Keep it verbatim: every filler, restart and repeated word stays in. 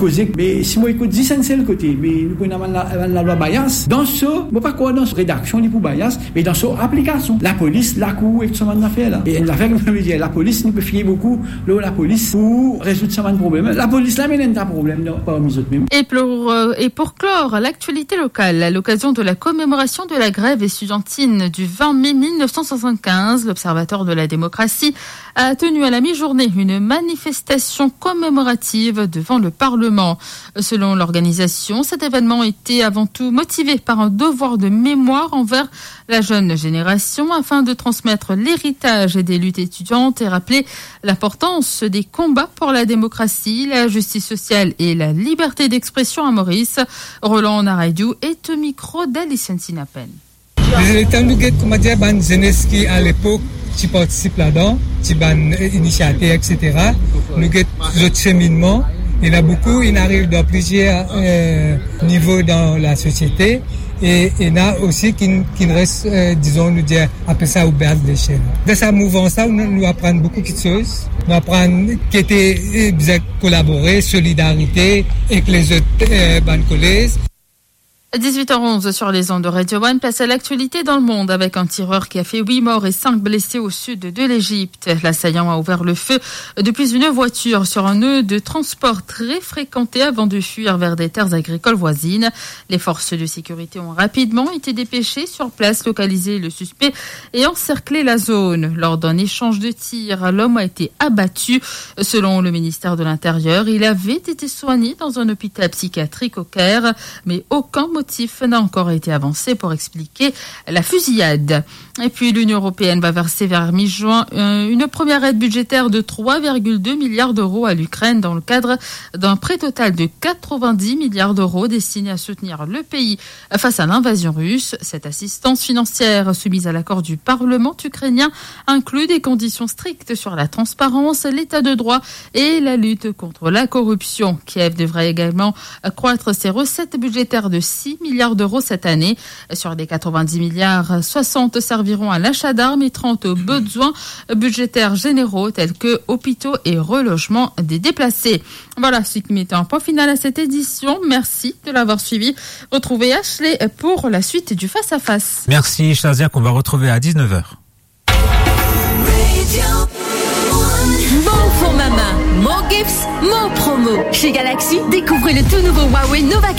Koze, me si mo ekout zis enn sel kote, me nou pou ena bann la, bann lalwa bias. Dan so, mo pa krwar dan so redaksion li pou bias, me dan so aplikasion. Lapolis, lakour ek sa bann zafer la. E enn zafer ki mo anvi dir, lapolis, nou pe fie boukou lor lapolis pou rezoud sa bann problem. Lapolis la, me ena problem dan, parmi zot mem. Et pour, euh, et pour clore l'actualité locale, à l'occasion de la commémoration de la grève estudiantine du vingt mai mille neuf cent soixante-quinze, l'Observatoire de la démocratie a tenu à la mi-journée une manifestation commémorative devant le Parlement. Selon l'organisation, cet événement était avant tout motivé par un devoir de mémoire envers la jeune génération afin de transmettre l'héritage des luttes étudiantes et rappeler l'importance des combats pour la démocratie, la justice sociale et la liberté d'expression à Maurice. Roland Narayou est au micro d'Alison Sinapen. Letan nou get, koumadir, bann zenes ki alepok ti partisip ladan, ti bann, eh, inisiater, et cetera. Nou get zot seminnman. Ena boukou, inn ariv dan plizier, eh, nivo dan lasosiete. E ena osi ki, ki res, eh, dizon, nou dir, apel sa au bas de l'échelle. Dan sa mouvmans la, nou, nou aprann boukou kiksoz. Nou aprann ki ete, eh, bizin kolabore, solidarite ek lezot, eh, bann kolez. Dix-huit heures onze sur les ondes de Radio One, place à l'actualité dans le monde avec un tireur qui a fait huit morts et cinq blessés au sud de l'Égypte. L'assaillant a ouvert le feu depuis une voiture sur un nœud de transport très fréquenté avant de fuir vers des terres agricoles voisines. Les forces de sécurité ont rapidement été dépêchées sur place, localisé le suspect et encerclé la zone. Lors d'un échange de tirs, l'homme a été abattu. Selon le ministère de l'Intérieur, il avait été soigné dans un hôpital psychiatrique au Caire, mais aucun motif n'a encore été avancé pour expliquer la fusillade. Et puis, l'Union européenne va verser vers mi-juin, euh, une première aide budgétaire de trois virgule deux milliards d'euros à l'Ukraine dans le cadre d'un prêt total de quatre-vingt-dix milliards d'euros destiné à soutenir le pays face à l'invasion russe. Cette assistance financière, soumise à l'accord du Parlement ukrainien, inclut des conditions strictes sur la transparence, l'état de droit et la lutte contre la corruption. Kiev devrait également accroître ses recettes budgétaires de six milliards d'euros cette année. Sur les quatre-vingt-dix milliards, soixante serviront à l'achat d'armes et trente aux besoins budgétaires généraux tels que hôpitaux et relogement des déplacés. Voilà, seki met an pwen final à cette édition. Merci de l'avoir suivi. Retrouvez Ashley pour la suite du Face à Face. Merci, Shazia, qu'on va retrouver à dix-neuf heures. Bon format, mon gifts, mon promo. Chez Galaxy, découvrez le tout nouveau Huawei Nova